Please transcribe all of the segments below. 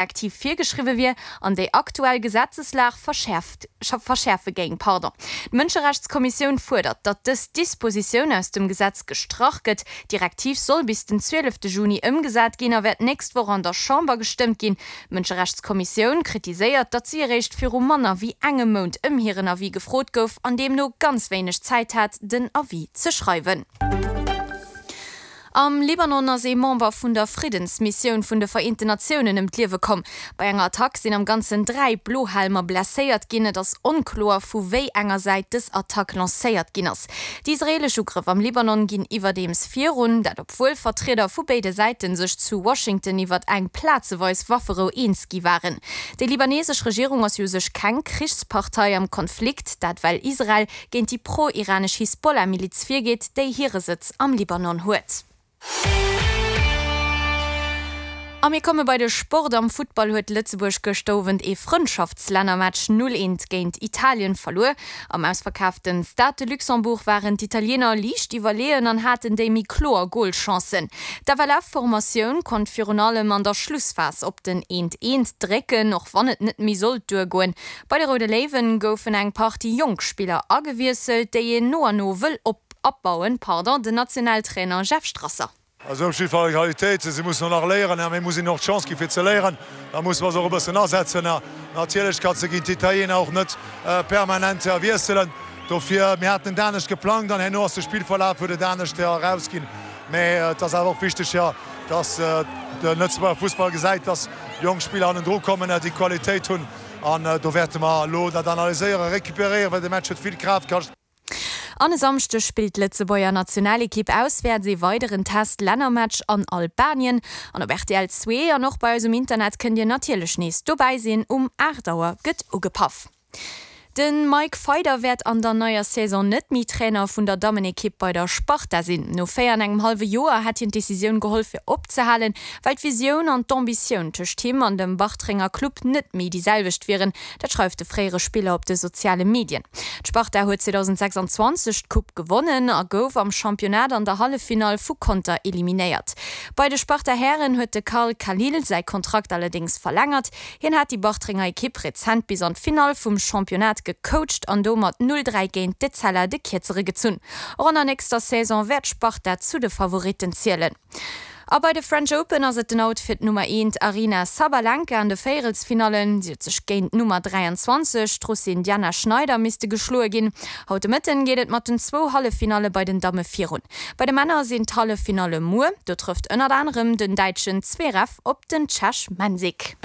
Direktiv virgeschriwwe wier an déi aktuell Gesetzeslag verschäerft verschäerfe géing. Pardon. D'Mënscherechtskommissioun fuerdert, datt dës Dispositioun aus dem Gesetz gestrach gëtt. D'Direktiv soll bis den 12 Juni ëmgesat ginn a wäert d'nächst Woch an der Chamber gestëmmt ginn. D'Mënscherechtskommissioun kritiséiert, datt si eréischt viru manner wéi engem Mount ëm hiren Avis gefrot gouf an deemno ganz wéineg Zäit hat, den Avis ze schreiwen. Am Libanon ass ee Member vun der Friddensmissioun vun de Vereenten Natiounen ëm d'Liewe komm. Bei enger Attack sinn am Ganzen 3 Blohelmer blesséiert ginn. Et ass onkloer, vu wéi enger Säit dës Attack lancéiert ginn ass. Déi israeelesch Ugrëff am Libanon ginn iwwerdeems virun, dat obwuel Vertrieder vu béide Säite sech zu Washington iwwert eng plazeweis Wafferou eens gi waren. Déi libanesesch Regierung ass jo u sech keng Krichspartei am Konflikt, dat well Israel géint déi pro-iranesch Hisbollah-Miliz virgeet, déi hire Sëtz am Libanon huet. A mir komme bei de Sport. Am Futtball huet Lëtzebuerg gëschter Owend ee Frëndschaftslännermatch 0, 1 géint Italien verluer. Am ausverkaafte Stade de Luxembourg waren d'Italiener liicht iwwerleeën an haten déi méi kloer Golchancen. D'FLF-Formatioun konnt virun allem an der Schlussphas op den 1, 1 drécken, och wann et net méi sollt duergoen. Bei de Roude Léiwen goufen eng Partie jonk Spiller agewiesselt, déi een no an no wëll op abbauen. Pardon, den Nationaltrainer Jeff Strasser. Also op jidde Fall Qualitéit. Si mussen och nach léieren a mir mussen hinnen och d'Chance gi fir ze léieren. Da musse mer se och e bëssen asetzen. Natierlech kanns de géint d'Italiener och net permanent wiesselen. Dofir, mir haten et anescht geplangt an herno ass de Spillverlaf huet et anescht erausginn. Mä et ass awer och wichteg, jo, dass de Lëtzebuerger Fussball gesäit, dass jonk Spiller hannendru kommen, déi Qualitéit hunn. An do wäerte mer elo dat analyséieren, recuperéieren, well de Match huet vill Kraaft kascht. An e Samschdeg spillt d'Lëtzebuerger Nationalekipp auswäerts ee weideren Test-Lännermatch an Albanien. An op rtl 2 an och bei eis um Internet kënnt dir natierlech nees dobäi sinn. Um 8 Auer gëtt ugepaff. De Mike Feyder wäert an der neier Saison net méi Trainer vun der Dammenekipp bei der Sparta sinn. No 4 an engem hallwe Joer hätt hien d'Decisioun geholl fir opzehalen, well d'Visioun an d'Ambitioun tëscht him an dem Bartrenger Club net méi déi selwecht wieren. Dat schreift de fréiere Spiller op de soziale Medien. D'Sparta huet 2026 d'Coupe gewonnen a gouf am Championnat an der Halleffinall vu Conter eliminéiert. Bei de Sparta-Hären huet de Carl Khalil säi Kontrakt allerdéngs verlängert. Hien hat déi Bartrenger Ekipp rezent bis an d'Finall vum Championnat gecoacht an do mat 0, 3 géint d'Etzella de Kierzere gezunn. Och an der nächster Saison wäert d'Sparta zu de Favoritten zielen. A bei de French Open ass et den Out fir d'Nummer eent Aryna Sabalenka an de Véierelsfinallen. Si huet sech géint d'Nummer 23, d'Russin Diana Schneider, misste geschloe ginn. Haut de Mëtten geet et mat den zwou Halleffinalle bei den Damme virun. Bei de Männer sinn d'Halleffinalle muer. Do trëfft ënnert anerem den däitschen Zverev op den Tschech Mensik.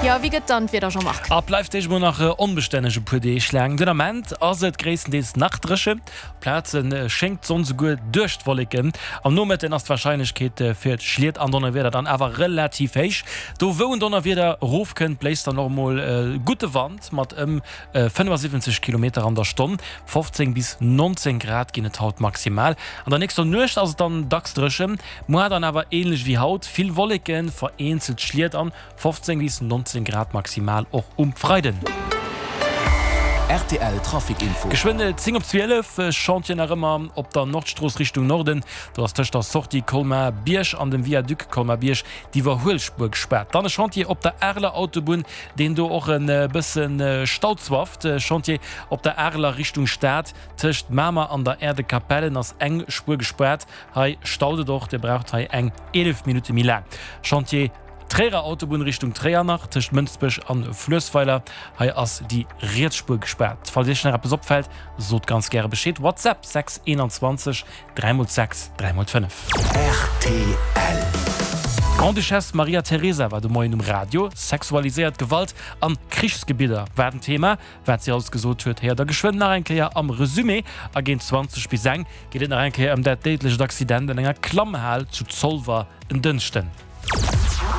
Jo, wéi gëtt dann d'Wieder, Jean-Marc? A bleift Deeg mol nach onbestänneg e puer Deeg laang. Den Ament ass et gréisstendeels nach dréchen, op Plaze schéngt d'Sonn souguer duerch d'Wolleken. Am Nomëtten ass d'Warscheinlechkeet fir Schliet an Donnerwieder dann awer relativ héich. Do wou en Donnerwieder erofkënnt, bléist dann och mol gudde Wand mat ëm 75 Kilometer an der Stonn. 15 bis 19 Grad ginn et haut maximal. An der nächster Nuecht ass et dann dacks dréchen, Muar dann awer ähnlech wéi haut, vill Wolleken, vereenzelt Schliet an 15 bis 19 Grad maximal och um Freiden. Rtl Trafic Info. Geschwënn 10 op 12, Chantier nach ëmmer op der Nordstrooss Richtung Norden. Do ass tëscht der Sortie Colmar-Bierg an dem Viaduc Colmar-Bierg d'Iwwerhuelspuer gespaart. Dann e Chantier op der Areler Autobunn, deen do och e bësse Stau zwafft. Chantier op der Areler Richtung Stad, tëscht Mamer an der Aire de Capellen ass eng Spuer gespaart. Hei staut et och, Dir braucht hei eng 11 Minutte méi laang. Chantier Tréierer Autobunn Richtung Tréier nach tëscht Mënsbech an Fluessweiler. Hei ass déi riets Spuer gespaart. Falls Iech nach eppes opfält, sot ganz gäre Bescheed. WhatsApp 6 21 3 x 6 3 x 5. Rtl. D'Grande-Duchesse Maria Teresa war de Moien um Radio. Sexualiséiert Gewalt an Krichsgebidder war den Thema. Wat si alles gesot huet, héiert der geschwënn nach eng Kéier am Resumé. A géint 20 bis eng geet et nach eng Kéier ëm dat déidlecht Accident an enger Klammhal zu Zolwer en Dënschden.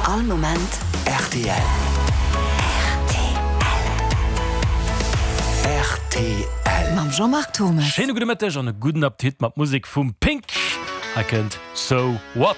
All Moment rtl. Rtl. Mam Jean-Marc Thurmes. Schéine gudde Mëtteg an e gudden Appetit mat Musek vum Pink. Hei kënnt So What.